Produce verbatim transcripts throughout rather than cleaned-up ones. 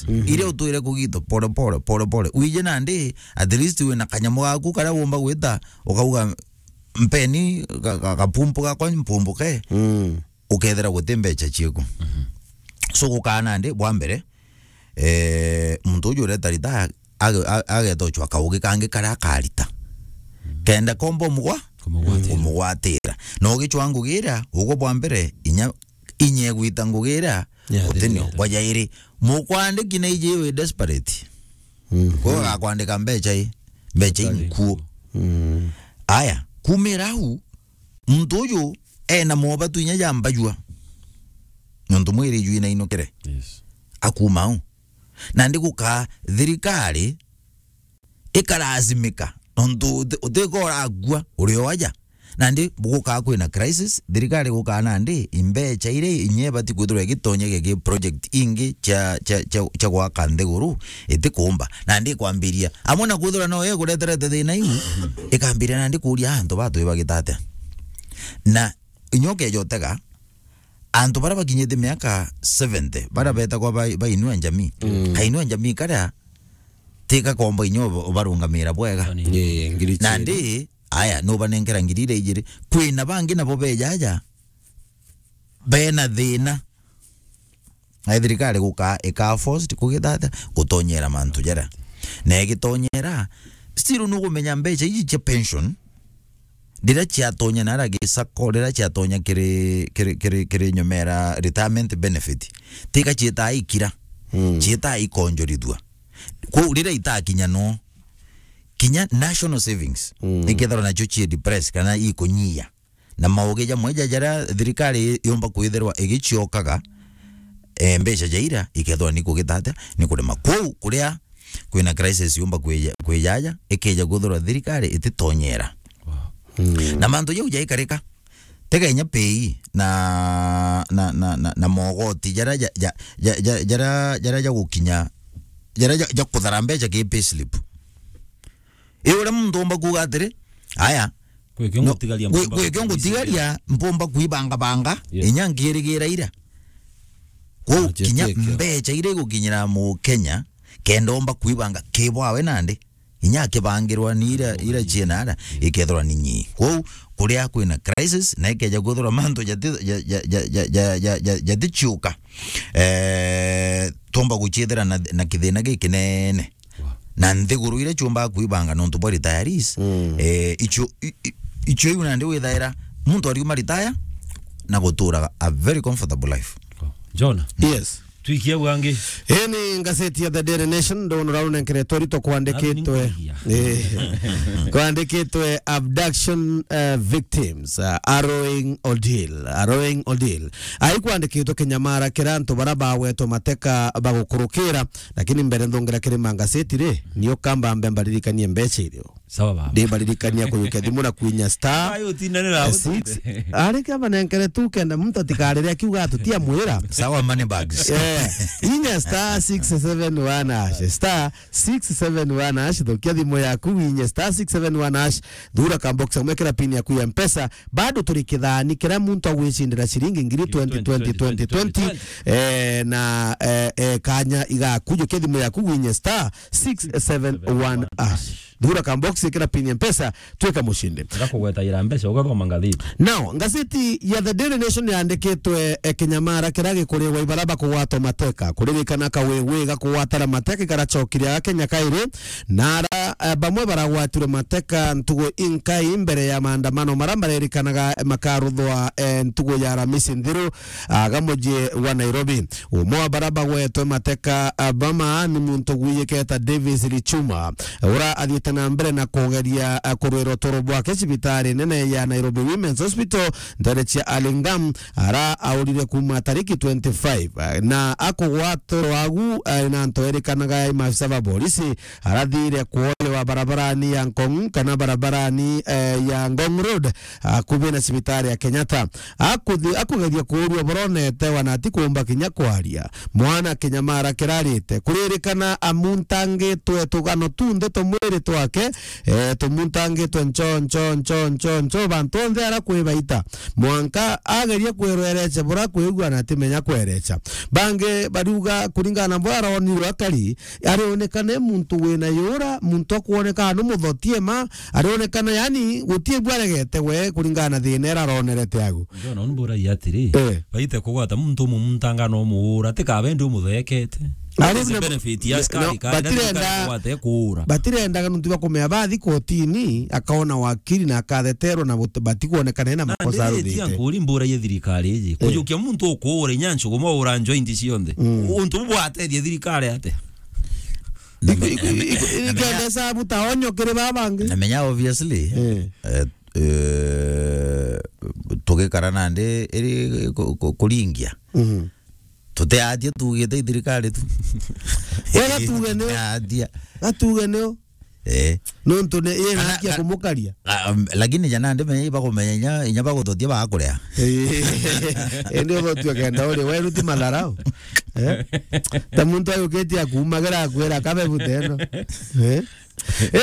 Mhm. Iria utwire kugitwa pole pole, pole pole. Wije nandi, at least wina kanyamu gaku karia wumba gwita, ukauga, "Mpeni ga-, ga-, gapumpu gakwa mpumbuke." Mm. Ukethira guti mbecha cieku. Mhm. So gukaa nandi, bwa mbere, eh, muntu uju ureta ritaya, age-, a-, ageta uchwa kaugi kangi karia akarita. Mm. Kenda komba umugwa-, kumugwatira. Kumugwatira. Na ugichwa ngugi iria, ugwe bwa mbere, inya, inya igwita ngugi iria, yeah, utinio. Bwa jairi, mukwandiki na iji wi desperate. Mhm. Kwa gakwandika mbecha i, mbecha i nkuo. Mm. Aya, kumira au, muntu uju ena mobatu inya ja mbajua. Nontu mwiri ju inainukire. Yes. Akuma au. Nandi gukaa thirikari ikalazimika. Nontu uti-, utikora akua, uri o aja. Nandi gukaa kwina crisis, thirikari gukaa nandi, imbecha iria inya ibati kwithirwa igitonyagia ki project ingi cia, cia, cia, cia gwaka nthiguru, itikumba. Nandi ikwambiria, amwe na kwithirwa no yo ikureterete thina iu, ikambiria nandi kuria antu batwi bagita atia. Na inya ukeja utega, antu baria bakinyite miaka seventy, baria betagwa ba, ba Inua Jamii. Mm. Ka Inua Jamii karia, tika komba inya uba-, ubarungamira bwega. Ni ngiri chiiri. Nandi, aya, nubanenkera ngiri iria ijiri. Kwina bangi nabo beja aja, bena thina. Na thirikari gukaa, ikaa forced kugita atia, gutonyera mantu jaria. Na igitonyera, still nugumenya mbecha iji cia pension, riria ciatonya nara gisako, riria ciatonya kiri, kiri, kiri, kiri nyomera retirement benefit, tika ciitaa ikira, mm, ciitaa ikonjorithua. Kwou riria itakinya no, kinya national savings, mm, ikethirwa nacio cie depress kana ikunyia. Na maugi jamwe ja jaria thirikari yumba kwithirwa igiciokaga, eh, mbecha ja ira ikethirwa ni kugita atia, ni kurema. Kwou kuria kwina crisis yumba kwija-, kwijaja, ikeja kwithirwa thirikari ititonyera. Wow. Mm. Na mantu jau jaikarika, tiga inya pay na, na, na, na, na mogoti jaria ja, ja, ja, ja, jaria, jaria jagukinya, jaria ja, ja kuthara mbecha ki payslip. I uria muntu umba kuuga atiri, aya, gwi kio no, ngutigaria, gwi, mpumba gwi kio ngutigaria, mpumba kuibangabanga, yes, inya nkirigira ira. Kwou kinya mbecha iria igukinyira Mukenya, kenda omba kuibanga ki bwawe nandi, inya akibangirwa ni ira, ira cienara, ikethirwa ni nyii. Kwou, kuria kwina crisis, na ikeja kwithirwa mantu jati-, ja-, ja-, jatichiuka, eh, tumba guchiethira na, na kithina gikinene. Wow. Na nthiguru iria ciumbaga kuibanga nontu bwa retirees, mm, eh, icio, i-, i-, icio iu nandi withaira muntu ariuma retire na guturaga a very comfortable life. Wow. Jona? Yes. Twikie au angi. Ii ni ngaceti ya The Daily Nation, ndona uria runenkeretwe rito kwandikitwe. Nani nkuigia? Eh. Kwandikitwe abduction, eh, victims, eh, harrowing ordeal, harrowing ordeal. Ai kwandikitwe kinyamara kira antu bara bagwetwe mateka bagukurukira. Lakini mbere nthongera kiri mangaceti ri, nio kamba mbe mbaririkanie mbecha irio. Sawa baba. Ndi mbaririkania kuyukia thimu na kwinya star, ayo utinanira eh, six. Ari kamba nenkere tu kenda muntu atikarire akiuga atutia mwira. Sawa, money bags. Eh, inya star six seven one hash, star six seven one hash, thukia thimu yaku winye star six seven one hash, thura ka box, umekera pin yaku ya Mpesa. Bado turi kithani kiria muntu agwicindira ciringi ngiri twenty, twenty, twenty, twenty. Eh, na, eh, eh, kanya igakujukia thimu yaku winye star six seven one hash. Thura ka box, ikira pin ya Mpesa, twika mushindi. Ngakugwetaira mbeca, ugathoma ngathiti. Now, ngaceti ya The Daily Nation yandikitwe, eh, kinyamara kiria gikuriwa ibara bakugwatwa mateka. Kuririkana kawiwi gakugwatara mateka ikaracokire aga Kenya kairi. Na ara, eh, bamwe baragwatirwe mateka ntugu inkai mbere ya maandamano mara marerikanaga makaruthwa, eh, ntugu ya Aramisi nthiru, aga muji wa Nairobi. Umwe wa bara bagwetwe mateka, ah, bama ni muntu gwiyiketa Davis Lichuma, ura athiite na mbere na kugeria, ah, kurwira uturo bwake cibitari nene ya Nairobi Women's Hospital, ntere cia Alingam, ara aurire kuma tariki twenty-five, ah, na akugwatwa rwagu, ah, na nto erikanaga i maafisa ba polisi, arathire kuoywa wa barabarani ya Ngong kana barabarani, eh, ya Ngong Road, akubi na cibitari ya Kenyatta. Akuthi-, akugeria kuurua boronete wana ati kuumba kinya kwaria. Mwana kinyamara kirarite. Kuririkana amuntangitwe tugano tunthe twa mwiri twake, eh, tumuntangitwe ncho, ncho, ncho, ncho, ncho, bantu onthe ara kwibaita. Mwanka ageria kwirwerecha bura kwigua na atimenya kwerecha. Bangi bariuga kuringana na bura aronirwe akari, arionekana e muntu wina yura, muntu akwoneka anu muthotie ma, arionekana yani gutie bwaregete we kuringana na thina ira aronerete agu. Ndona unu mburagia atiri, eh, baite kugwata muntu umwe muntanga no muura, tika bendi umuthekete. Ari na benefit ya askari no, kari, na batirenda, thirikari kugwata kuura. Batirendaga nuntu bwa kumea bathi kotini, akaona wakiri na akatheterwa na but-, batikuonekana ena makosa aruthite. Nkuri mburagia thirikari iji. Eh. Kujukia muntu ukuura inya nchugu mwaura njo inti cionthe. Mm. Untu bu bwatethia thirikari ate? Iku-, iku-, iku-, ikenda sabu ta onyo kiri baba bangi. Namenya obviously, eh, eh, eh, tugikara nandi iri ku-, ku-, kuringia. Mhm. Tutiatia tugite i thirikari tu. Wega tuge nio. Tutiatia. Gatuge nio. Eh. Nontu ni yena haki ya kumukaria. Ah, um, lakini jana ndi menya ibakumenya inya, inya bagutotia bakurea. Eh. Indi uthotue kenda uri weru ti matharau. Eh? Ta muntu ayukitie akumagira akwira kabe buteno. Eh?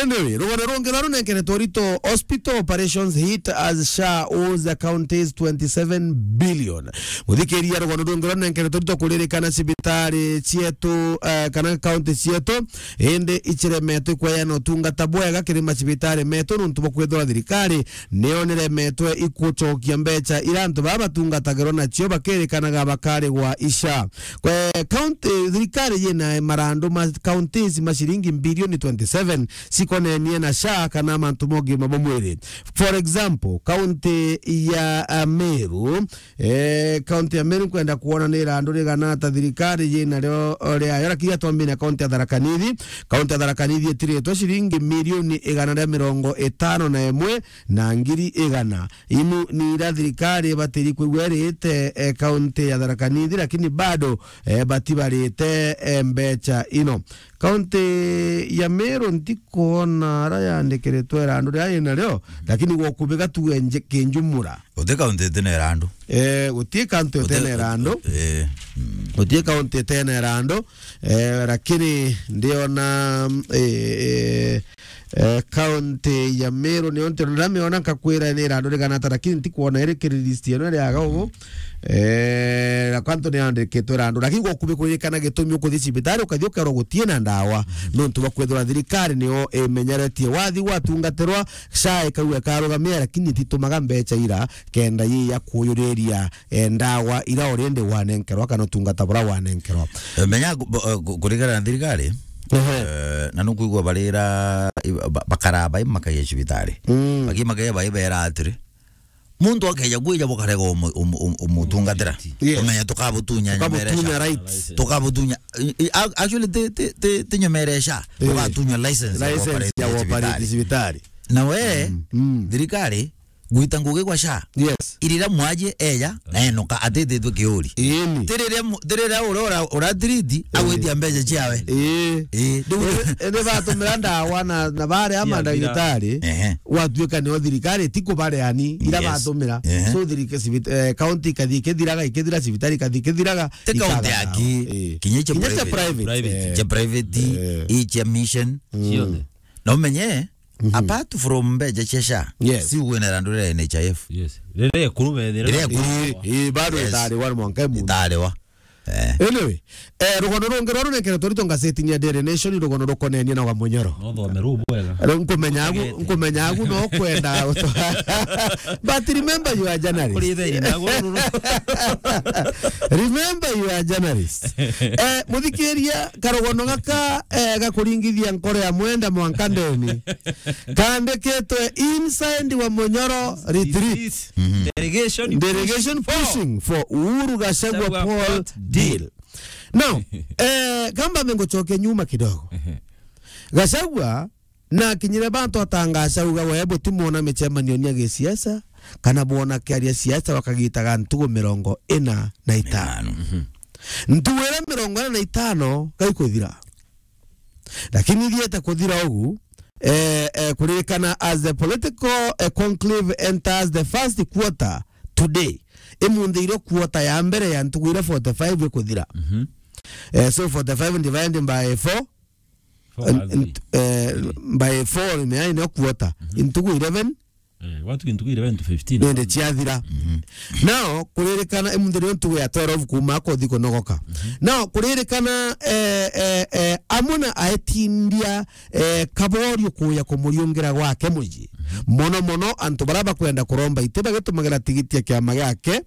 Anyway, rugano rungi rwa runenkeretwe urito, hospital operations hit as SHA owes the counties twenty-seven billion. Muthikiria, rugano rungi rwa runenkeretwe urito kuririkana cibitari cietu, eh, kana county cietu, indi iciremetwe kweana utungata bwega kiri macibitari metu nuntu bwa kwithirwa thirikari niyo niremetwe ikucokia mbecha ira antu baa batungatagirwa nacio bakirikanaga bakarigwa i SHA. Kwe county, thirikari yina marandu ma counties ma ciringi bilioni twenty-seven cikonenie na SHA kana mantu ma ugima bwa mwiri. For example, county ya, uh, Meru, eh, county ya Meru nkwenda kuona ni irandu rigana ata thirikari yina rio riayo, lakini atwambie na county ya Tharaka Nithi. County ya Tharaka Nithi itiritwe ciringi milioni igana ria mirongo itano na imwe na ngiri igana. Inu ni ira thirikari ibatiri kwigua irite, eh, county ya Tharaka Nithi, lakini bado, eh, batibarite, eh, mbecha ino. County ya Meru ntikuona ara yandikiritwe irandu ria ina rio, lakini gwa kubiga tuge nje kinjumura. Guti county itena irandu. Eh, guti county itena irandu. Eh. Mm. Guti county itena irandu. Eh, lakini ndiona, eh, eh, eh, county ya Meru niyo nti-, ndamiona nkakwira ni irandu rigana ata, lakini ntikwona iri kiri list ino iri aga ugu. Eh, na kwantu ni andikitwe irandu, lakini gwa kubi kuririkana gitumi ukuthi cibitari ukathi ukerwa gutie na ndawa, nontu bwa kwithirwa thirikari niyo imenyeretie wathi gwatungatirwa, SHA ikauga ikarugamia, lakini ititumaga mbecha ira kenda yi ya kuyuriria, eh, ndawa ira already wanenkerwa kana utungata bura wanenkerwa. Eh, menya ku-, bo-, eh, ku-, kuringana na thirikari, ehe, eh, na nukwigua barira, i-, ba-, bakara bai makagia cibitari. Mm. Baki makagia bai bera atiri, muntu akeja kwija bukarega umu-, umu-, umu-, umutungatira. Yes. Umenya tukabutunya nyomere SHA. Tukabutunya rights. Tukabutunya, i-, i-, ac-, actually, ti, ti, ti, ti nyomere SHA. Eh. Tukatunya license ya license ya operate cibitari. Na we, mm, mm, thirikari, gwita ngugi gwa SHA. Yes. Irira mwaji eja, na enoka, atititwe kiuri. Ĩni. Tirira mu-, tirira uria ura-, uratiriti, eh, agwitia mbeca ciawe. Ĩĩ. Ĩĩ, ndiu- ĩni, ĩni batumira ndawa na, na baria mandagitari, ehe, gwatuika nio thirikari ti kubareani, ira, yes, batumira. Ehe. So thirika-, cibit-, eh, county ikathi ikithiraga, ikithira, cibitari ikathi ikithiraga, ti county ikaga aki, ndawa. Ĩĩ. Kinya icia private. Kinya icia private. Private. Eh. Icia mission. Mm. Ciothe. Na umenye, mhm, apart from mbeca cia SHA, yes, si gwina irandu ria NHIF. Yes. Riria ekuru bethira. Riria ekuru. Ii, ii, bado, yes, itariwa mwanka muntu. Itariwa. Eh. Anyway, eh, rugono rungi rwa runenkeretwe rito ngazetini ya Daily Nation, rugono rukonenie na wa Munyoro. No thome ru bwega. Riu nkumenya agu, nkumenya agu no kwenda guto-, but remember you are journalist. Kuri theri na guru. Remember you are journalist. Eh, muthikiria, karugono gaka, eh, gakuringithia nkoro ya mwenda mwanka ndeni. Kandikitwe inside wa Munyoro retreat. Retreat. Mhm. Delegation, delegation pushing for, pushing for Uhuru Gachagua, Gachagua Paul, Paul deal. Deal. Now, eh, kamba mengucoke nyuma kidogo. Ehe. Gachagua na akinyire bantu atangaca auga we butimwona micemanio ya gisiasa, kana bwona kiaria siasa wakagitaga ntugu mirongo ina na itano. Itano. Mhm. Ntugu ira mirongo ina na itano gaikuthira. Lakini ithiete kuthira ugu, Eh, eh, kuririkana as the political, eh, conclave enters the first quarter today. Imunthi irio quarter ya mbere ya ntuku iria forty-five ikuthira. Mhm. Eh, so forty-five divided by four, Four and, and, eh, by four, ni, ni quarter. Mhm. Ntuku eleven. Eh, watu ntuku eleven to fifteen. Nende ciathira. Mhm. Now, kuririkana, imunthi nio ntuku ya twelve kuuma kothi kunogoka. Mhm. Now, kuririkana, eh, eh, eh, amwe na aetindia, eh, Kaborio kuya kumuriungira gwake mucii. Mhm. Mono mono, antu baria bakwenda kuromba iti bagitumagira tigiti ya kiama giake,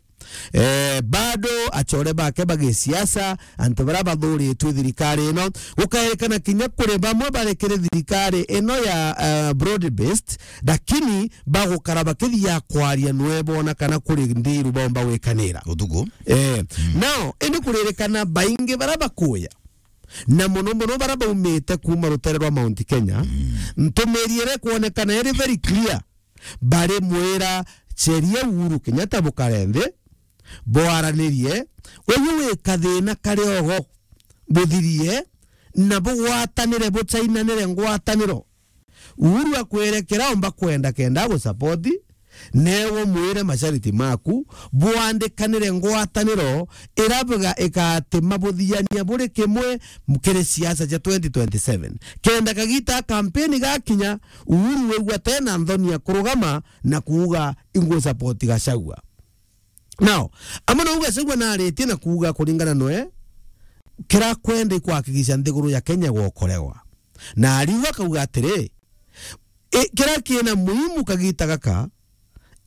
eh, bado achore bake bagisiasa, antu baria bathuritwe thirikari ino, gukaerekana kinya kuri bamwe bari kiri thirikari ino ya, eh, broad based, lakini bagukara bakithia kwaria nwe bona kana kuri ndiru bomba gwikanira. Utuku. Eh, mm. Now, indi kuririkana baingi baria bakuya, na mono mono baria baumite kuuma rutere rwa Mount Kenya, mm, ntumiri iria ikwonekana iri very clear. Bari mwira, ceria Uhuru Kenyatta bukare nthi, bwaranirie, uyu wi kathina kari ogo, buthirie, na bugwatanire, buchainanire ngwataniro. Uhuru akwerekera omba kwenda kenda agusapoti, newe umwire mashariti maku, bwandikanire ngwataniro, ira bga-, igatima buthiania buri kimwe kiri siasa cia twenty twenty-seven. Kenda kagita ka kampeni gakinya, Uhuru wigua tena nthoni ya kurugama na kuuga, "Ingusapoti Gachagua." Now, amwe nau Gachagua naritie na kuuga kuringana nwe, kira kwenda ikwakikisha nthiguru ya Kenya gwokorewa. Na ariuga akauga atiri, i-, kira kina muhimu kagita gaka,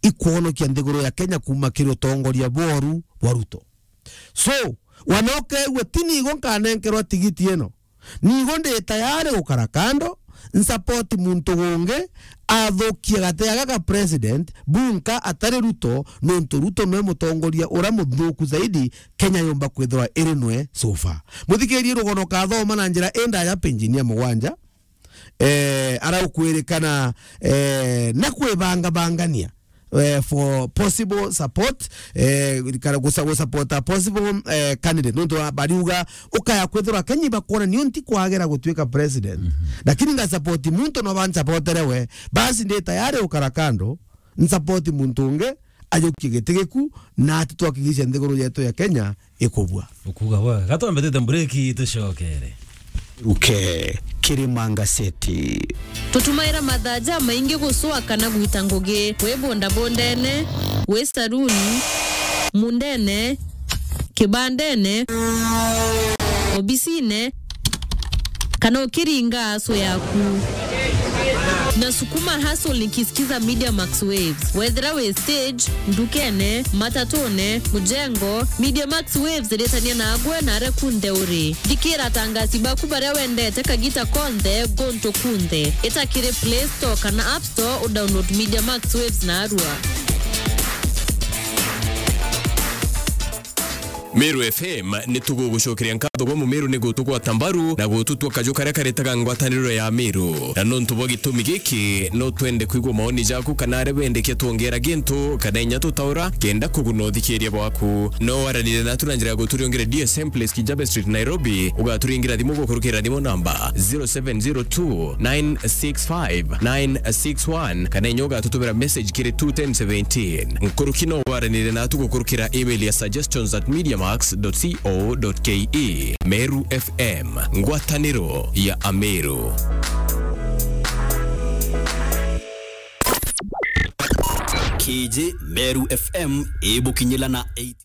ikwonokia nthiguru ya Kenya kuuma kiri utongoria bworu bwa Ruto. So, wana ukegua, ti nigo nkanenkerwa tigiti ino. Nigo ndi tayari gukara kando, nsapoti muntu gungi athukie gate gaka ka president, bunka atari Ruto, nontu Ruto nwe mutongoria uria muthuku zaidi Kenya yumba kwithirwa iri nwe so far. Muthikirie rugono kathoma na njira indaya penjini ya mugwanja, eh, araukwirikana, eh, na kwibangabangania, eh, for possible support, eh, kana gusa-, gusupporta possible, eh, candidate. Nontu wa-, bariuga, ukaya kwithirwa Kenya ibakwona nio nti kwagera gutuika president. Mhm. Lakini nga support muntu no bansupportere we. Basi ndi tayari ukara kando, nsupporti muntu ungi, ajukie giti giku, na ati twakigishe nthiguru yetu ya Kenya ikubua. Ukuga bwa, gatwambitite mbureki tucokere. Ruke, Kirima Ngaseti. Tutumaira mathaa jamaingi gucwa kana gwita ngugi, wi bondabondene, wi saruni, mundene, kibandene, obisine, kana ukiringa aso yaku. Na sukuma hustle nikisikiza Media Max Waves. Wethira wi stage, ndukene, matatune, mujengo, Media Max Waves iritania nagwe na aria kunthe uri. Thikira atangasi baku baria wendete kagita konthe, guntu kunthe. Ita kiri Play Store kana App Store, udownload Media Max Waves narua. Meru F M ni tugugucokeria nkatho gwa Mumeru ni gutugwata mbaru na gututua kaju karia karitaga ngwataniro ya Meru. Na nontu bwa gitumi giki, no twende kwigua maoni jaku kana aria wendekia twongera gintu kana inya tutaura kenda kuguna uthikiria bwaku. No waranire natu na njira ya guturiongere D S M Place, Kijabe Street, Nairobi, ugaturingira thimu gukurukira thimu namba zero seven zero two nine six five nine six one, kana inya ugatutumira message kiri two ten seventeen. Nkuruki no waranire natu gukurukira email ya suggestions at mediamax dot co dot ke. Meru F M, ngwataniro ya Ameru. Kiji Meru F M ibukinyila na eight.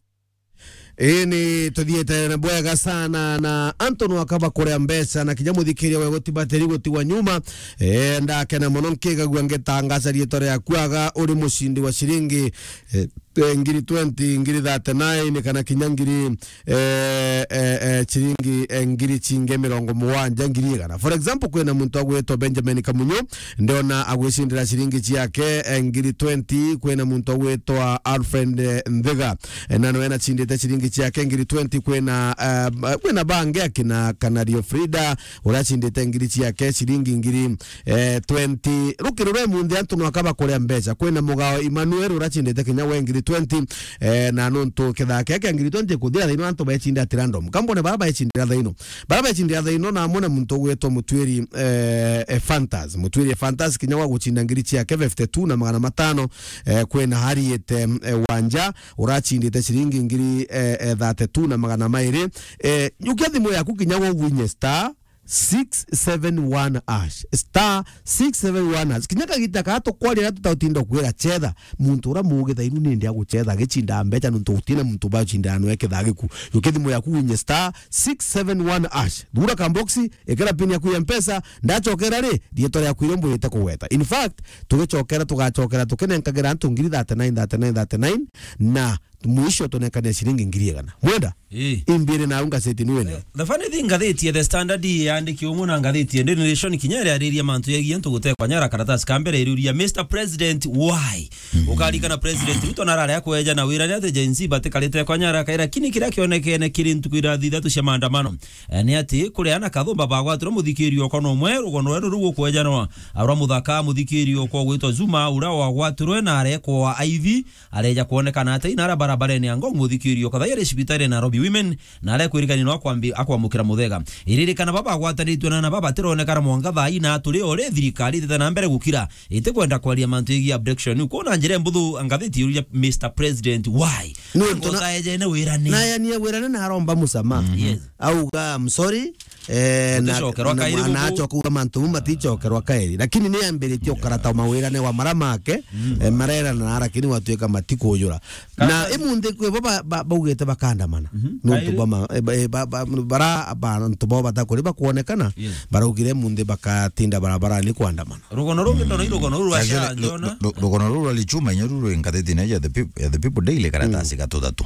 Ii, ni tuthiite na bwega sana, na antu nwaka bakuria mbeca, na kinya muthikiria we gutibatiri gutigwa nyuma. Eh, ndakena mono nkigagua ngitangaca riitwa riaku aga uri mucindi wa ciringi, eh, eh, ngiri twenty, ngiri thirty-nine, kana kinya ngiri, eh, eh, eh, ciringi, eh, ngiri cingi mirongo mugwanja, ngiri igana. For example, kwina muntu agwitwa Benjamin Kamunyo, ndiona agwicindira ciringi ciake, eh, ngiri twenty. Kwina muntu agwitwa Alfred, eh, Nthiga, eh, na nwe nacindite ciringi ciake ngiri twenty. Kwina, eh, kwina bangi akina Kanario Frida, uracindite ngiri ciake ciringi ngiri, eh, twenty. Rukiri rwe munthi antu nwaka bakuria mbeca. Kwina Mugao Emmanuel uracindite kinya we ngiri twenty, eh, na nontu kithaa kia kia ngiri twenty kuthira thaino antu becindira at random. Kambone bara becindira thaino. Bara becindira thaino na amwe na muntu ugwitwa Mutwiri, eh, eh, Fantas. Mutwiri Fantas kinya wa gucinda ngiri ciake fifty-two na magana matano, eh, kwina Harriet, eh, eh, Wanja, uracindite ciringi ngiri, eh, eh, thirty-two na magana mairi. Eh, yukia thimu yaku kinya wa winye star six seven one hash. Star six seven one hash. Kinya kagita kaa tukwaria na tutautinda kwira chetha. Muntu ura mugi thainu nindi aguchetha agicinda mbecha nontu gutina muntu bacinda anwe kithaa giku. Yukia thimu yaku winye star six seven one hash. Thura kamboxi, ikira pin yaku ya Mpesa, ndachokera ri, rietwa riaku iria mbwirite kugweta. In fact, tugicokera, tugacokera tukinenkagira antu ngiri thirty-nine, thirty-nine, thirty-nine, na mwisho tunengania ciringi ngiri igana. Mwenda? Ii. Imbire na unga seti ni wene. The funny thing, ngathiti ya The Standard yandiki umwe na ngathiti ya Daily Nation kinya iriariria mantu yegie antu gutekwa nyara. Karatasi ka mbere iriuria, Mister President, why? Ukarikana President Ruto narare akweja na wira ni ati Gen Z batikarite kwa nyara kaira, lakini kiria kionekene kiri ntuku irathi ithatu cia maandamano, eh, ni ati kuria na kathumba bagwatirwe muthikirio kono umwe rugono rweru ruu ukwejanwa. Arwa muthaka muthikirio kwa gwitwa Zuma, uria wagwatirwe na arekwa aithi, areja kwonekana ati inara barabarene ya Ngong muthikirio kathai ari cibitari ya Nairobi Women, na arekwirikania no akwambi-, akwamukira muthega. Iririkana baba agwataritwe na, na baba tironekana mwanka thaa ina turi ore thirikari itete na mbere gukira itikwenda kwaria mantu yegii abduction. Kwona njira mbuthu ngathiti iruria Mister President, why? Nontu na- Ngotaejene wirane. Nayanie wirane na aromba musamaha. Yes. Auga, "I'm sorry." Eh, na, Uticokerwa na kairi mwana guku. Acoka kuuga mantu mau maticokerwa kairi. Lakini ni ambiritie ukarata mawirane wa mara make, eh, marerana na lakini watuika matikujura. Na imunthi kwi bo ba-, ba-, baugite bakandamana. Nontu kairi. Bama-, eh, ba-, eh, ba-, ba-, bara bantu bo batakuri bakwonekana, yes, baraugire imunthi bakatinda barabarani kwandamana. Rugono rungi ndona i rugono ruru rwa Actually, sha, ru-, njona. Ru-, ru-, rugono ruru rwa Lichuma inyo ruru ingathiti na ya the peop-, ya the People Daily karatasi ga tuthatu.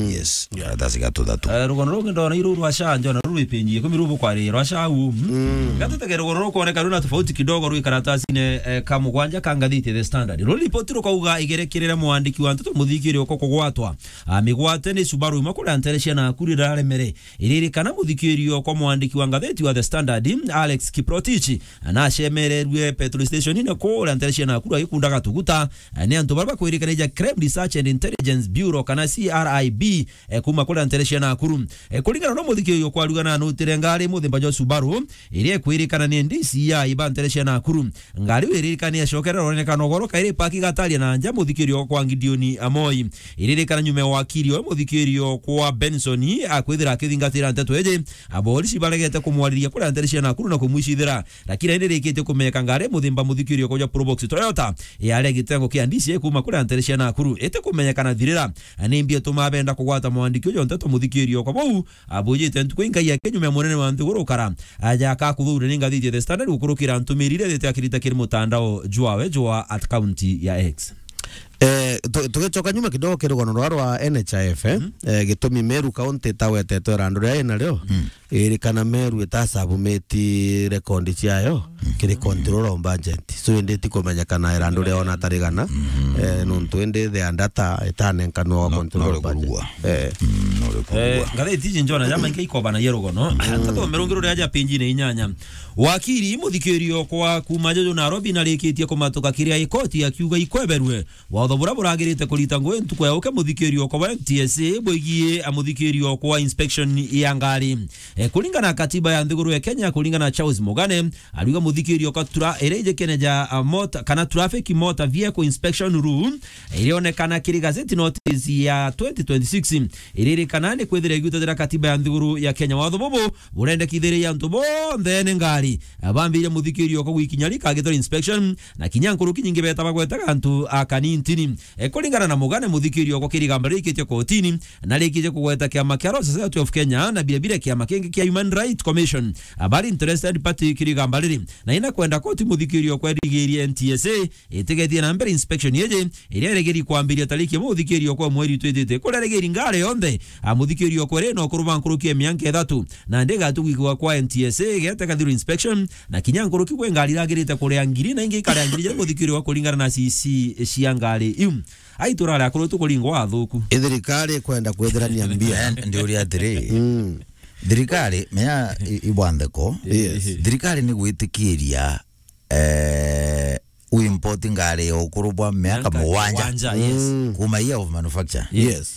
Yes, karatasi ga tuthatu. Eh, rugono rungi ndona i ruru rwa sha, njona ruru ipenji ikumi ruru bukwari rwa sha u. Gatutege rugono rukwoneka runa tofauti kidogo rwi karatasine, eh, ka mugwanja ka ngathiti The Standard. Ruri ripoti rukauga igerekerere mwandiki wa nteto muthikiri uko kugwatwa. Amigwate ni Subaru imwe kuria ntere cia Nakuru iraremere. Iririkana muthikirio kwa mwandiki wa ngatheti wa The Standard, Alex Kiprotich, nacemererue petrol station-ine kuria ntere cia Nakuru agikundaga tuguta, ni antu baria bakwirikanaija Crime Research and Intelligence Bureau kana C R I B, eh, kuma kuria ntere cia Nakuru. Eh, kuringana na muthikirio kwaruga na nutire ngari muthemba jwa Subaru, iria ikwirikana ni D C I ba ntere cia Nakuru. Ngari iu iririkana ni yacokera ronekana ugoro kairi paki gataria na nja muthikirio kwa Gideon Amoi. Iririkana nyuma ya wakiri oyo muthikirio kwa Benson akwithira akithingatira nteto iji, aborisi baregete kumwariria kuria ntere cia Nakuru na kumwicithira. Lakini indi rikitie kumenyeka ngari muthemba muthikirio kwa ja Probox Toyota yari gitengo kia D C I kuma kuria ntere cia Nakuru. Iti kumenyekana thirira ni mbi ituma benda kugwata mwandiki uju nteto muthikirio kwa bau abujite ntuku ingai yake nyuma ya munene wa nthiguru ukara aja akakuthuure ni ngathiti ya The Standard gukurukira ntumiri iria ithite akirita kiri mutandao jwawe jwa at county ya X. Eh, tu-, tugicoka nyuma kidogo kiri rugono rwa, rwa N H I F, eh? Eh, gitumi Meru County itawetetwe irandu ria ina rio, iri kana Meru itasabumiti rekondi ciayo kiri control of budget. So, indi ti kumenyekana irandu ria ona tarigana, eh, nontu indi the data itanenkanwa wa No, control no of budget. Kurugwa. Eh. Mm, no, uri kurugwa. Eh, ngathiti iji njona jama ingi ikobanagia rugono. Ntathome rungi ruria ja page-ine inyanya. Wakiri muthikirio kwa kuma juju Nairobi narikitie kumatuka kiria ikoti akiuga ikweberue watho buria buragirite kurita ngugi ntuku ya uke muthikirio kwa N T S A bwigie a muthikirio kwa inspection ya ngari. Eh, kuringana na katiba ya nthiguru ya Kenya, kuringana na Charles Mugane, ariuga muthikirio kwa tura-, iria ijikene ja, ah, motor, kana traffic motor vehicle inspection rule, irionekana kiri gazette notice ya twenty twenty-six, iririkana ni kwithira igiutatira katiba ya nthiguru ya Kenya. Watho bubu burendekithiria antu bonthe ni ngari, ah, bambire muthikirio kwa gwikinya rika gitore inspection, na kinya nkuruki nyingi beta bagwetaga antu a kanintini. E, kuringana na Mugane, muthikirio kwa kirigamba rikitie kotini, na rikitie kugweta kiama kia Royal Society of Kenya, na birabira kiama kingi kia Human Rights Commission. Abari interested party kirigamba riri, na ina kwenda koti muthikirio kwa irigirie N T S A, itigethie na mbere inspection yeje, iria iregeri kwambiria tariki imwe muthikirio kwa mweri twitite. Kuria regeri ngari yonthe, a, muthikirio kwa ri no kuruba nkuruki ya mianka ithatu, na ndi gatu gwikwa kwa N T S A, gete kathiro inspection, na kinya nkuruki kwe ngari iragirite kuria ngiri, na ingi ikaria ngiri ja muthikirio wa kuringana na C C cia ngari iu. Ai, turare akuru tukuringwa athuku. Ithirikari kwenda kwithirania mbia. Eh, ndi uria atiri. Mm. Thirikari, menya i-, ibwantheko. Yes. Thirikari ni gwitikiria, eh, u import ngari ya ukuru bwa miaka Miaka mugwanja. Mugwanja, yes. Mm. Kuma year of manufacture. Yes. Yes.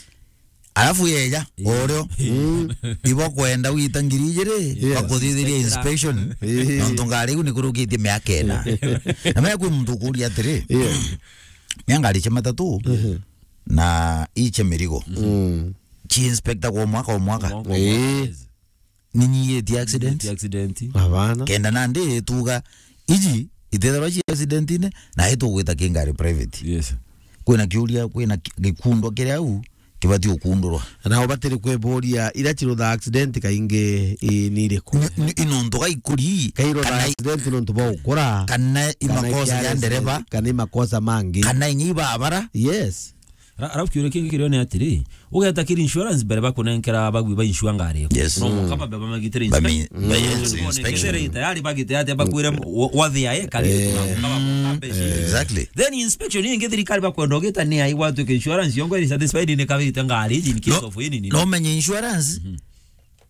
Alafu yeja, yes, orio. Mm. Ibo kwenda wita ngiri ijiri, yes, bakuthithiria inspection. Yes. Nontu ngari iu nikurukitie miaka ina. Na mea kwi muntu ukuria atiri, yes, mea ngari cia matatu, mhm, na icia mirigo. Mm. Ci inspector kwa mwaka o mwaka. Mwaka o mwaka, eh, yes. Ninyiitie accident. Ninyiitie accident. Abana. Kenda nandi tuga, iji itethirwa ci accident-ine, na itugwita ki ngari private. Yes. Kwina kiuria, kwina ki-, gikundwa kiria au kibati ukundurwa. Na ubatiri kwiburia, ira cirutha accident kaingi i-, ni iriku? Ni, ni, i nontu ga ikuri, kairutha kana i-, accident nontu bwa gukura, kana i kana makosa ja ndereba, accident, kana i makosa mangi. Kana inya i babara. Yes. Ra-, arafu kiuria kingi kirio ni atiri, ugeta kiri insurance mbere bakunenkera bagwi ba insure ngari. Yes. No, mm, mukaba baba magitire inspection. Bami-, ba-, yes, inspection. Kethira tayari bagite ati bakwire wa-, wathi ae kari, eh, mukaba mukabe. Eh, exactly. Then inspection ingi thirikari bakwenda ugita ni ai gwatuika insurance yongo iri satisfied ni kabite ngari in case, no, of any, no, menye insurance. Mhm.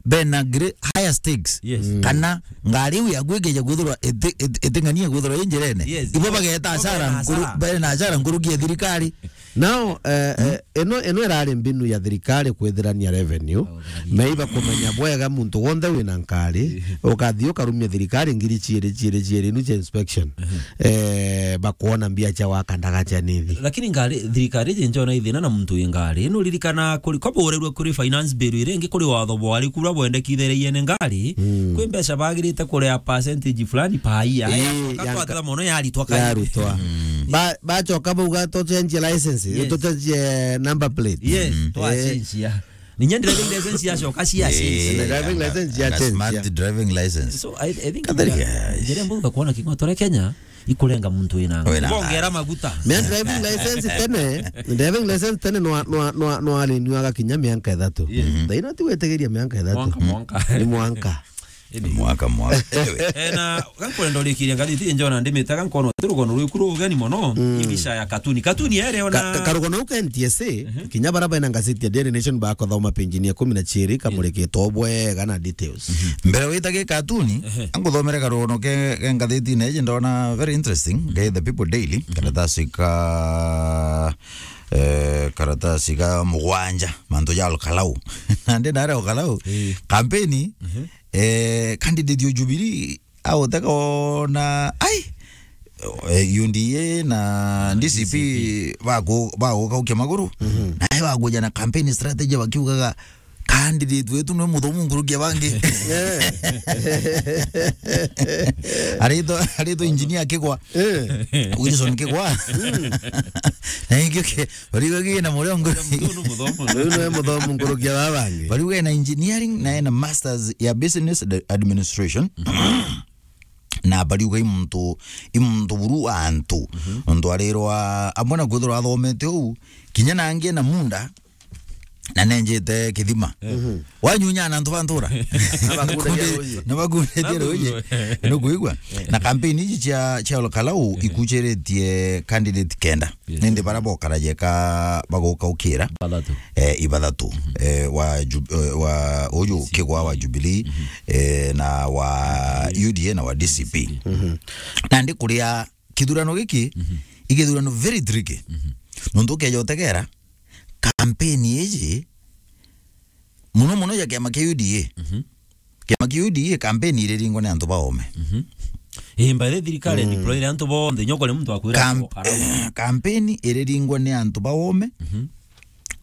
Bena gre-, higher stakes. Yes. Mm. Kana ngari iu yaku ikeja kwithirwa iti-, iti-, iting'ania kwithirwa i njirene. Yes. Ibo bageta, ibo hasara bena nkuru-, hasara. Bena hasara nkuruki ya thirikari. Now, eh, mm, eh, ino, ino irari mbinu ya thirikari kwithirania revenue. Oh, revenue. Meiba kumenya bwega muntu wonthe wina nkari, ukathi ukarumia thirikari ngiri ciiri, ciiri, ciiri, inu cia inspection. Mhm. Eh, bakwona mbia cia waka ndaga cia nithi. Lakini ngari, thirikari iji njona ithina na muntu wi ngari. Nuririkana kuri, koba urerwe kuri finance bill iri ingi kuri watho bwari kura bwendekithirie ni ngari, mm, kwi mbeca bagirite kuria percentage fulani per year. Ii, yacoka yanka-, twatira mono yaritwa kai. Yarutwa. Mm. Ba-, bacoka bauga tucenjie license, yes, tucenjie number plate. Yes, mm, twacenjia. Ninya driving license yacoka cia change. Eh, driving license ya change, smart, yeah, driving license. So, I, I think Katheri, yeah, njira mbonga kuona king'otore Kenya, ikurenga muntu wina. Wina. Bongera maguta. Me driving license tene, driving license tene no, no, no, no alinywaga kinya mianka ithatu. Yes. Mhm. Thaino ti gwetigiria mianka ithatu. Mwanka, mwanka. Ni mwanka. Indi. Mwaka, mwaka. Anyway. Eh, na gankwenda urikiria ngathiti njona ndimitaga nkono ti rugono rwiku rugeni mono, mm, ibica ya katuni. Katuni ere ona ka-, ka-, karugono u ka N T S A, mhm, kinya bara bena ngathiti ya Daily Nation bakothoma page ya ikumi na ciiri, kamurikitwo bwega na details. Mhm. Mbere wita gi katuni, ehe, anguthomere karugono ke, ke ngathitine iji ndona very interesting, ke The People Daily, mhm, karatasi ka, eh, karatasi ka mugwanja, mantu ja Ol Kalou. Nandi nare Ol Kalou, eh, kampeni, mhm, eh, candidate o Jubilee, autega ona, ai, eh, U D A na D C P, D C P, bagu-, bagukaukia maguru, mhm, nae bakuja na campaign strategy bakiugaga, candidate wetu nwe muthomu nkuruki ya bangi. Eh. Aritwa, aritwa engineer Kigwa. Eh. Wilson Kigwa. Mm. Na ingio ke, bariuga gi na murio nguru. Muthomu, muthomu. Uyu nwe muthomu nkuruki ya babangi. Bariuga ena engineering na ena masters ya business ad-, administration. Na bariuga i muntu, i muntu buru wa antu. Mhm. Nontu arirwa, amwe na kwithirwa athomete uu, kinya nangi ena munda, na nenjete kithima. Mhm. Wanyunya na antu ba ntura. Na bakundetie ruji. Na bakundetie ruji. Nukwigua? Eh. Na campaign iji cia, cia Ol Kalou, eh, ikuchiritie candidate kenda. Yes. Nindi bara bokaraje ka bagukaukira. Bathatu. Eh, ibathatu. Mhm. Eh, wa Ju-, eh, wa uju Kigwa wa Jubilee, mhm, eh, na wa U D A na wa D C P. Mhm. Nandi kuria kithurano giki, mhm, i kithurano very tricky. Mhm. Nontu ukeja utegera, campaign iji, muno muno ja kiama kia U D A. Mhm. Kiama kia U D A, campaign iriringwa ni antu baome. Mhm. Ii, by the way, thirikari, mm, deployire antu bonthe, nyokore muntu akwira kam-, eh, campaign iriringwa ni antu baome. Mhm.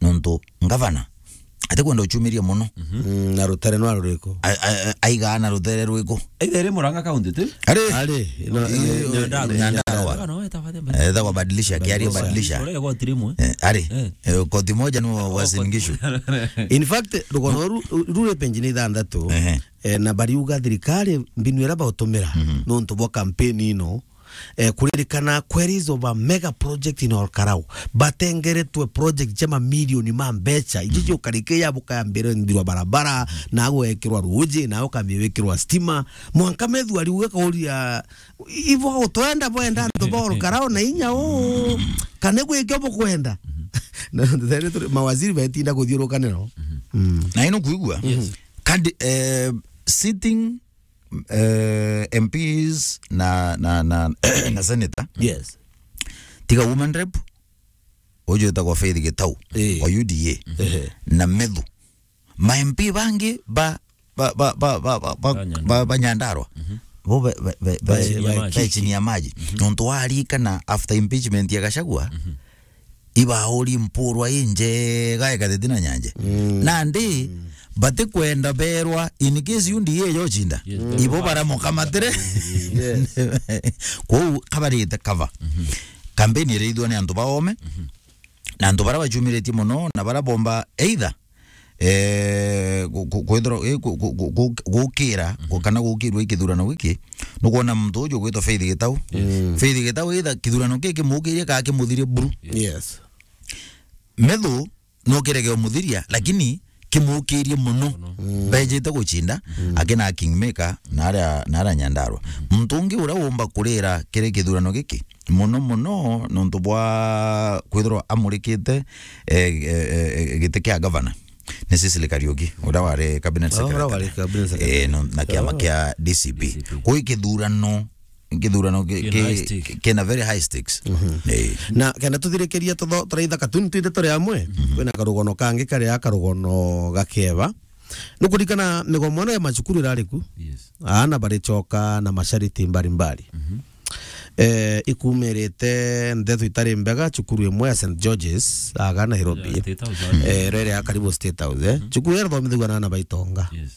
Nontu ngavana atikwenda uchumiria muno. Mhm. Mm, na rutere nwa ruriku? A-, a-, a-, aigaa na rutere rwiku? Either iri Murang'a County, ti? Ari. Ari, no, eh, Nyandarua. Nyandarua. Nyandarua, no, eta bade mbere. Eh, etagwa Badilisha, kiaria Badilisha. Badilisha. Ore igoti rimwe. Eh, ari. Eh. Eh, koti moja ni wa Uasin Gishu. In fact, rugono ru-, ru-, ruri page ni ithanthatu, ehe, eh, na bariuga thirikari mbinu iria bautumira, mhm, nontu bwa campaign ino, eh, kuririkana queries of a mega project in Ol Kalou. Batengeretwe project cia mamilioni ma mbeca. Iji, mhm, ciukarike ya bukayambirwa nthirwa barabara, na gwekirwa ruji, na ukambia wikirwa stima. Mwanka methu ariuga kauria, ibo gutwenda bwenda antu ba Ol Kalou na inya uu, kana gwikio bukwenda. Mhm. Na there turi, mawaziri betinda kuthiurukanira. Mhm. Mm. Na ino kuigua? Yes. Kandi, eh, sitting eh, M Ps na, na, na, na senator. Yes. Tiga woman rep, uju witagwa Faith Gitau, eh, wa U D A, ehe, na Methu. Ma M P bangi ba, ba, ba, ba, ba, ba, ba, Ba Nyandarua. Ba, ba Nyandarua. Mhm. Bo be, be, be, Ba be, chini ya be, maji. Be chini ya maji. Mhm. Nontu warikana after impeachment ya Gachagua, mhm, ibauri mpurwa injega ikateti na nyanje. Mm. Nandi, mm, batikwenda berwa in case U D A yocinda. Yes, ibo baramukamatire. Yes. Kwou kabarite cover. Mhm. Kampeni irithwa ni antu baome. Mhm. Na antu bara bachumiritie mono na bara bomba either, eh, gu-, gu-, kwithirwa, eh, gu-, gu-, gu-, gu-, gukira, mhm, gu-, kana gukirwa i kithurano giki, nukwona muntu uju gwitwa Faith Gitau. Yes. Mm. Faith Gitau either kithurano giki kimukirie kana kimuthirie buru. Yes. Yes. Methu no kirege umuthiria, lakini kimukirie mono. Mono. Mm. Mbejite gucinda, mm, akina Kingmaker, na aria, na aria Nyandarua. Mm. Muntu ungi uria umba kurira kiri kithurano giki, mono mono nontu bwa kwithirwa amurikite, eh, eh, eh, giti kia gavana, ni Cecily Kariuki, uria wari cabinet secretary. Oh, uria wari cabinet secretary. Eh, no, na kiama kia D C P. D C P. Kwi kithurano, kithurano ki-, kina ki-, high stake, kina very high stakes. Mhm. Eh. Na kenda tuthirikiria tutho-, turaitha katuni twithe turi amwe, mhm, kwina karugono kangi karia karugono gakieba. Nukurikana migomo ino ya macukuru irari ku? Yes. Aana baricoka na mashariti mbalimbali. Mhm. Eh, ikumirite ndeto itari mbega cukuru imwe ya Saint George's, aga Nairobi. Ya State House, eh, iria iri ya karibu State House, eh. Mhm. Cukuru iria ithomithagua na aana ba itonga. Yes.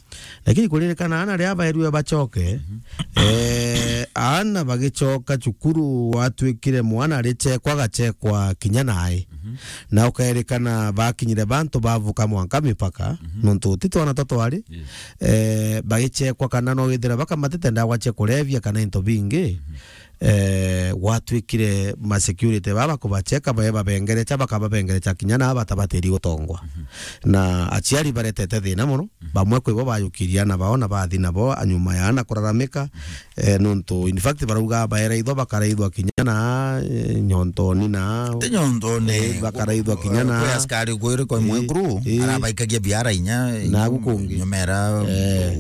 Lakini kuririkana aana riria baerue bacoke, mhm, eh, aana bagicoka cukuru watwikire mwana aricekwa agacekwa kinya nae. Mhm. Na ukairikana bakinyire bantu bavuka mwanka mipaka, mhm, nontu ti twana twa twari, yes, eh, bagichekwa kana no withira bakamatite ndawa cia kurevia kana into bingi, mhm, eh, gwatwikire ma security baba kubacheka, bae babengerecha, bakababengerecha kinya na batabatiri gutongwa. Mhm. Na aciari baretete thina mono, mhm, bamwe kwi bo bayukirie aana bao na bathi nabo nyuma ya aana kuraramika, mhm. Eh, nontu, in fact, barauga baera itho bakaraithwa kinya na, eh, nyontoni na. Ti nyontoni. Eh, bakaraithwa kinya na. Kwi askari kwiri kwa, eh, mwekuru, eh, arabaikagia biara inya, na gukungi. Nyomera, eh,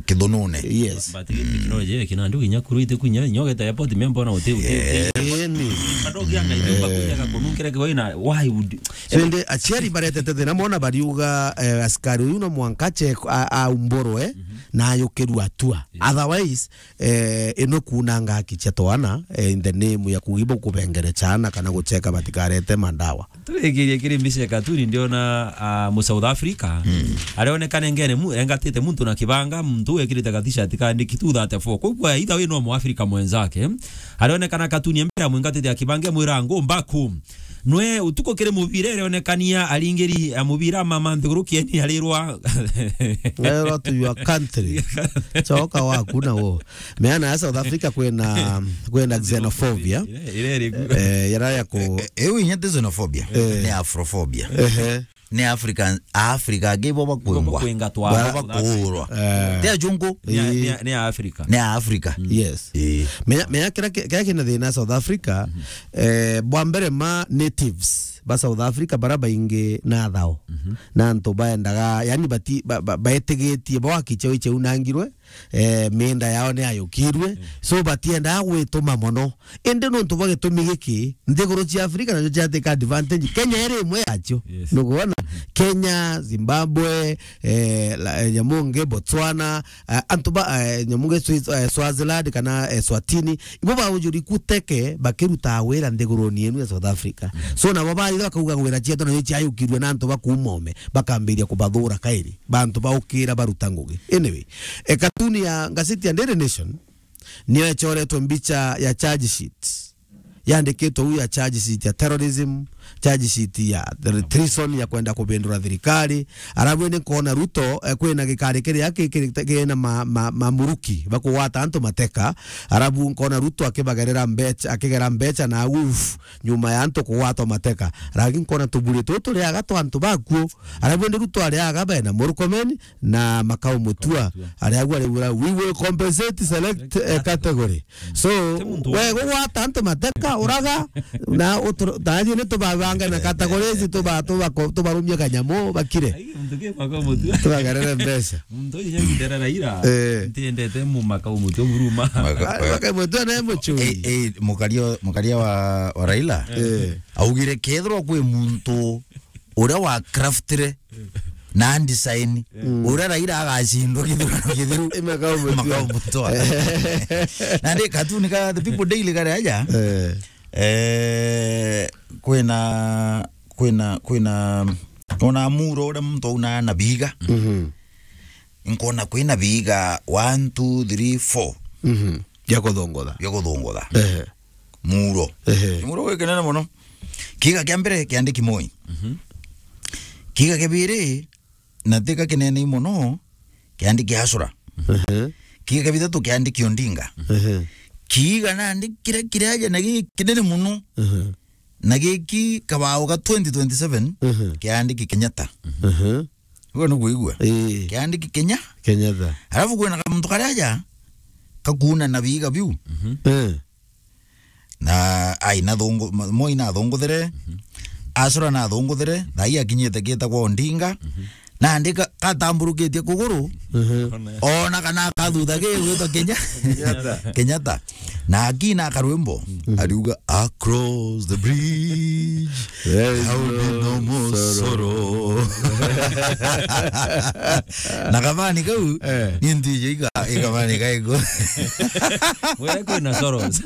kithunune. Yes. But technology ya kina ndu inya kuru ite kunya, inya ugeta airport, memba na uti, uti, uti. Eh, ni. Andu ukianga ithu, eh, bakujaga kununkira kiwa ina, why would. So, indi aciari baretete thina mona bariuga, eh, askari uyu no mwanka che-, a-, aumburwe, mhm, na ayukirua atua. Yes. Otherwise, eh, ino kuunanga haki cia twana, eh, in the name ya kugibo kubengere chana kana gucheka batikarete mandawa. Turikirie kiri mbica ya katuni, ndiona, ah, mu South Africa. Mm. Arionekana engene mu-, engatite muntu na kibanga, muntu ekirite ga t-shirt kaandiki two thirty-four. Kwa hivyo, either way no mu Africa mwenzake. Arionekana katuni ya mbere amwingatite ya kibanga, mwira, "Go back home." Nwe utuku kiri mubira irionekania aringiri a mubira mama nthiguru kieni arirwa. Erwa to your country. Choka waku na wo. Meana ya South Africa kwina, kwina xenophobia. Ire, ire iri ku. Eh, yara ya ku. Eh, eh, iu inya ti xenophobia. Eh. Ni Afrophobia. Ehe. Ni African, Africa angi bo bakwingwa. Bo bakwinga twa. Bo bakuurwa. Eh. Ti ajungu. Ni a-, ni a-, ni a Africa. Ni a Africa. Mm. Yes. Eh. Menya, menya kira ki-, kira kina thina South Africa, mhm, eh, bwa mbere ma natives ba South Africa bara baingi na thao. Mhm. Na antu baendaga, yani bati-, ba-, ba-, baetigitie bo haki chao icheunangirwe, eh, mienda yao ni ayukirwe. Mm. So batiendaga gwituma mono. Indi nontu bwa gitumi giki, nthiguru cia Africa nacio ciatika advantage. Kenya iri imwe yacio. Yes. Nukwona? Mhm. Kenya, Zimbabwe, eh, la, eh, nyamu ngi Botswana, eh, antu ba, eh, nyamu ngi Swiss-, eh, Swaziland kana, eh, Swatini, ibo baujuri kuteke bakiruta wira nthiguruni yenu ya South Africa. Mhm. So nabo baitha bakauga wira cietu nacio ciayukirwe na antu ba kuuma ome, bakambiria kubathura kairi. Bantu baukira baruta ngugi. Anyway, e, katuni ya ngazeti ya Daily Nation niyo echoretwe mbicha ya charge sheet. Yandikitwe uu ya charge sheet ya terrorism, charge sheet ya tr-, treason, ya kwenda kubindura thirikari. Arabu ni nkona Ruto, eh, kwina gikari kiria ki-, ki-, kina ma-, ma-, mamuruki bakugwata antu mateka. Arabu nkona Ruto akibagerera mbecha, akigera mbecha na uf nyuma ya antu kugwatwa mateka. Ragi nkona tuburi tutu turiaga twa antu bakuo. Arabu ndi Ruto ariaga bena Murkomen na Makau Mutua. Mutua. Aria agwa riu, "We will compensate select, eh, category." So, ti muntu we gugwata antu mateka, uraga, na utro-, tathi ni tuba bange na categories, tuba-, tuba-, tubarumie kanyamu, bakire. Ai, muntu ki maka umutua. Tubagarere mbeca. Muntu uyu nyamutera Raila. Eh. Ntiendete mu maka umutua buruma. Maka-, ai, maka umutua na mucui. Eh, eh, mukaria, mukaria wa, wa Raila. Eh. Augire kethirwa kwi muntu uria wa craftire na design, mm, uria Raila agacindwa githurano githiru. Makau Mutua. Makau Mutua. Na ndi katuni ka The People Daily kari aja. Eh. Eh, kwina, kwina, kwina, ona muro uria muntu auna na biga. Mhm. Nkona kwina biga one, two, three, four. Mhm. Bia kuthungutha. Bia kuthungutha. Ehe. Muro. Ehe. Muro gwi kinene muno. Kiga kia mbere kiandiki Moi. Mhm. Kiga kia biri, na tika kinene muno, kiandiki Asura. Ehe. Kiga kia bithatu kiandiki Odinga. Ehe. Kiga nandi kiria kiraja na gi kinene muno. Ehe. Na giki kabao ga twenty twenty-seven, ehe, kiandiki Kenyatta. Ehe. Uguo ni kuigua? Ii. Kiandiki Kenya. Kenyatta. Alafu kwina kamuntu karia aja kakuuna na biga biu. Mhm. Eh. Na ai na thungu, mo-, Moi na thunguthere. Mhm. Asura na thunguthere, na ai akinyite gitagwa Odinga. Mhm. Na andika katamburukitie kuguru. Mhm. Ona kana kathutha gi gwitwa Kenya. Kenyatta. Kenyatta. Na akina karwimbo, mhm, ariuga, "Across the bridge, there will be no more sorrow." Na kabani kau, eh, ni ntije iga, iga kabani kaigo. Wera kwina sorrows.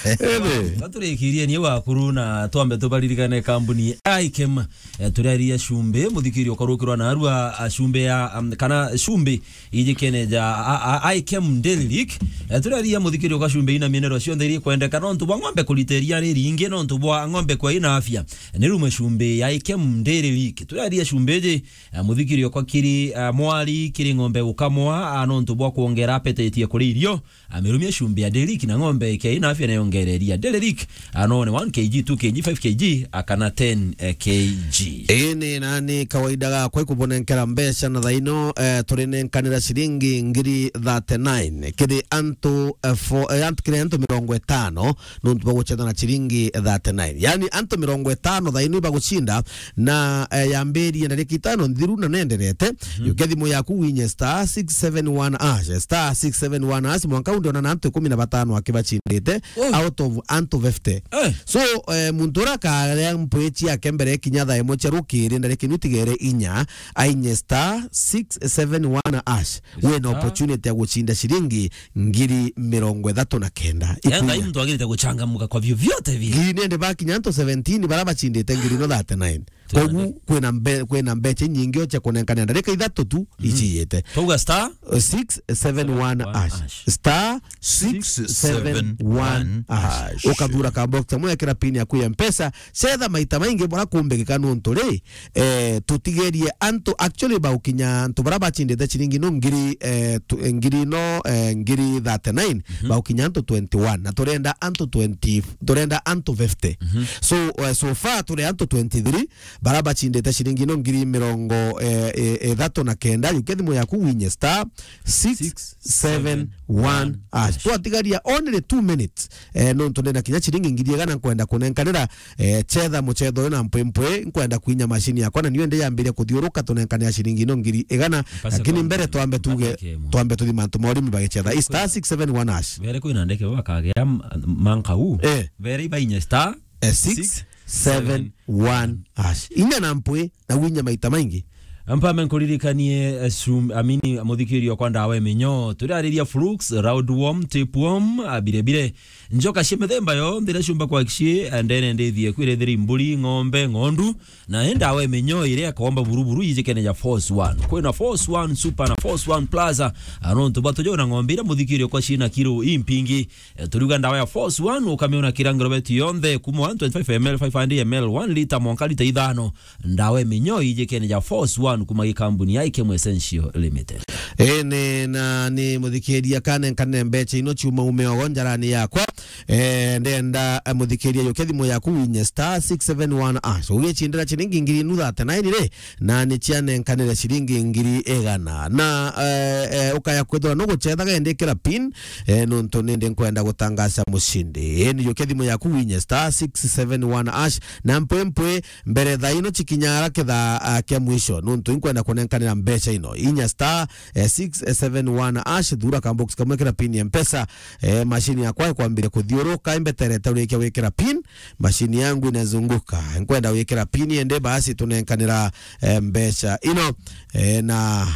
Ebe. Gaturikirie ni wakuru na twambe tubaririkane kambuni Ikem. Eh, turiaria cumbi, muthikiri ukarukirwa na arua, a, cumbi ya, um, kana cumbi ijikene ja, a, a, Ikem Dairy Lick. Eh, turiaria muthikiri uka cumbi ina mienero cionthe iri kwendeka nontu bwa ng'ombe kurita iria riringi, nontu bwa ng'ombe kwa ina afya. Ni rumwe cumbi ya Ikem Dairy Lick. Turiaria cumbi iji, eh, muthikiri uka kiri, eh, mwari kiri ng'ombe gukamwa, a, nontu bwa kuongera appetite ya kuria irio. Amirumia cumbi ya Dairy Lick na ng'ombe ikia ina afya na yongereria. Dairy Lick, anone one K G, two K G, five K G, akana ten K G. Ii ni nani kawaida gakwa ikubonenkera mbeca na thaino, eh, turinenkanira ciringi ngiri thirty-nine. Kiri antu, eh, fo-, eh, antu, kiri antu mirongo itano, nontu bwa gucetha na ciringi thirty-nine. Yani antu mirongo itano thaino ibagucinda, na, eh, yambirie ndarika itano nthiru na nenderete. Mhm. Yukia thimu yaku winye star six seven one hash, star six seven one hash, mwanka undiona na antu ikumi na batano akibacindite, oh, out of antu fifty. Eh. So, eh, muntu ura akaria mpwi ciake mbere kinya thaa imwe cia rukiri, ndarika inu itigere inya, ainye star six seven one hash. Wina star opportunity ya gucinda ciringi ngiri mirongo ithatu na kenda. Yani, ikunya. Muntu agirite guchangamuka kwa vyovyote vile. Ngiri nende bakinya antu seventeen bara bacindite ngiri no thirty-nine. Kogu kwina mbe-, kwina mbeca inyingi o cia kunenkanira ndarika ithatu tu, mhm, iciyite. Twauga star, uh, six seven one hash. Star six seven one hash. Ukathura ka box kamwe, ekira pin yaku ya Mpesa, cetha maita maingi bora kumbigika nontu ri, eh, tutigerie antu actually baukinya antu bara bacindite ciringi no ngiri, eh, tu-, eh, ngiri no, eh, ngiri thirty-nine, mhm, baukinya antu twenty-one, na turenda antu twenty, turenda antu fifty. Mhm. So, eh, so far turi antu twenty-three, bara bacindite ciringi no ngiri mirongo, eh, eh, ithatu na kenda. Yukia thimu yaku winye star six seven one hash. Twatigaria only two minutes. Eh, nontu ndina kinya ciringi ngiri igana nkwenda kunenkanira, eh, cetha mucetho uyu na mpwimpwi, nkwenda kwinya mashini yakwa, na niyo ndi yambiria kuthiuruka, tunenkanira ciringi no ngiri igana. Lakini mbere twambe tuge, twambe tuthi mantu ma urimi bagicetha. Star six seven one hash. Bere kwina ndeke bakagea m-, manka u. Eh. Bere ibainye star, eh, six seven one hash. Inya na mpwi na winya maita maingi. Mpame nkuririkanie, eh, sum-, amini, muthikirio kwa ndawa iminyo. Turiariria flukes, roundworm, tapeworm, a, bire bire. Njoka cia mithemba yonthe iria ciumba kwakishie, eh, ndene ndithie kwirethiri mburi, ng'ombe, ng'ondu. Na i ndawa iminyo iria ikomba buruburu ijikene ja Force One. Kwina Force One Super na Force One Plus, a, nontu bwa tujona ng'ombe iria muthikirio kwa ciina kiro impingi. Eh, turiuga ndawa ya Force One, ukamiona kira ngirobetu yonthe, kuma one twenty-five M L, five hundred M L, one litre, mwanka litre ithano. Ndawa iminyo ijikene ja Force One. One kuma gikambuni ya Ikemo Essential Limited. Ene, na ni muthikiria kanenkanire mbeca ino ciuma ume ogo njarani yakwa. Eh, ndenda, eh, muthikiria yuke thimu yaku winye star six seven one hash. Ugicindira ciringi ngiri inu thate na ini ri, na ni cianenkanire ciringi ngiri igana. Na, eh, eh, ukaya kwithirwa nugucethaga indi ikira pin, eh, nontu nindi nkwenda gutangaca mucindi. Indi yuke thimu yaku winye star six seven one hash, na mpwe mpwe mbere thaa ino cikinyara kithaa, ah, kia mwisho, nontu inkwenda kunenkanira mbeca ino. Inya star, eh, six seven one hash, thura ka box kamwe kira pin ya Mpesa, eh, machine yakwa ikwambire kuthiuruka, imbeterete urikia wikira pin, machine yangu inazunguka. Nkwenda wikira pin ende basi tunenkanira, eh, mbeca ino, eh, na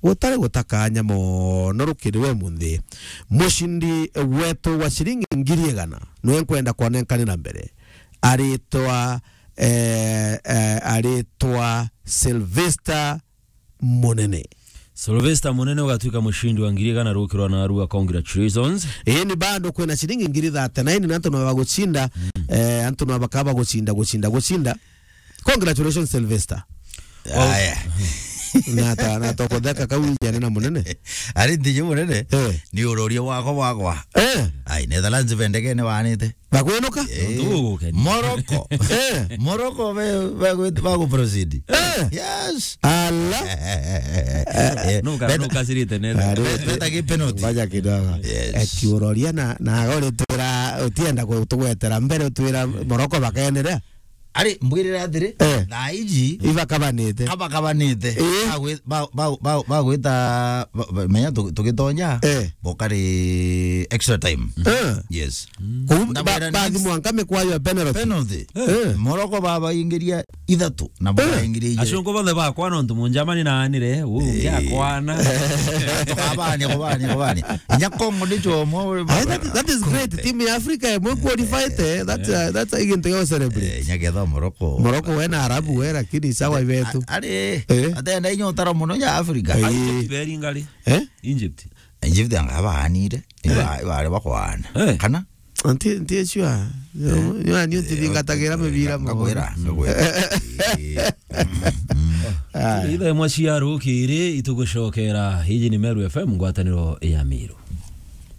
gutari gutakanya mono rukiri we munthi. Mucindi wetu wa ciringi ngiri igana, niwe nkwenda kwanenkanira mbere. Aritwa, eh, eh, aritwa Sylvester Munene. Sylvester Munene ugatwika mucindi wa ngiri igana rukirwa na arua, congratulations. Ii ni bado kwina ciringi ngiri thate na ini na antu no bagucinda, eh, antu no bakaba gucinda, gucinda, gucinda. Congratulations, Sylvester. Aya. Na ta, na ta kutheka kau ijane na munene. Ari ntiji munene? Eh. Ni uroria wakwa wakwa. Eh. Ai, Netherlands bendegene wanite. Bakwinuka? Eh. Ndu gukeni. Morocco. Eh. Morocco be, be, be, bagu proceed. Eh. Yes. Ala. Eh, nuka, beta- nuka sirite nene. Ari, beta ki penalty. Ngoja kidogo. Yes. Eti uroria na, na ore twira utienda kutugwetera mbere utwira Morocco bakenderea. Ari, mbwirire atiri, eh, thaa iji ibakabanite. Abakabanite. Eh. Bagwi-, ba-, ba-, ba-, bagwita, ba-, ba-, menya tu-, tugitonya, eh, bokari extra time. Eh. Yes. Kou ba-, ndabwira ni bathi mwanka mikwayo ya penalty. Penalty. Eh. Morocco babaingiria ithatu, na, eh, baraingiria ijiri. Acungu bonthe bakwana untu Munjamani naanire, uu, eh, ngiakwana. Tukabania, kubania, kubania. Inya Congo ni chomwe. Aye, that, that is great. Team ya Africa imwe qualified, eh. That's, eh, that's a igintu ya celebrate. Eh, inya ketha Morocco. Morocco we na Arabu we, lakini sawa ibetu. A-, ari, eh, atenda inya utara muno ya Africa. Eh. Egypt beri ngari. Eh? Egypt. Egypt anga baanire. Eh. Iba, iba ari bakwana. Eh. Kana? Anti, anti sure. Eh. Ni, ni, ni utithingatagira mibira mo. Ngakwira, ngakwira. Ah. Itha imwe cia rukiri itugucokera. Iji ni Meru F M, ngwataniro ya Miru.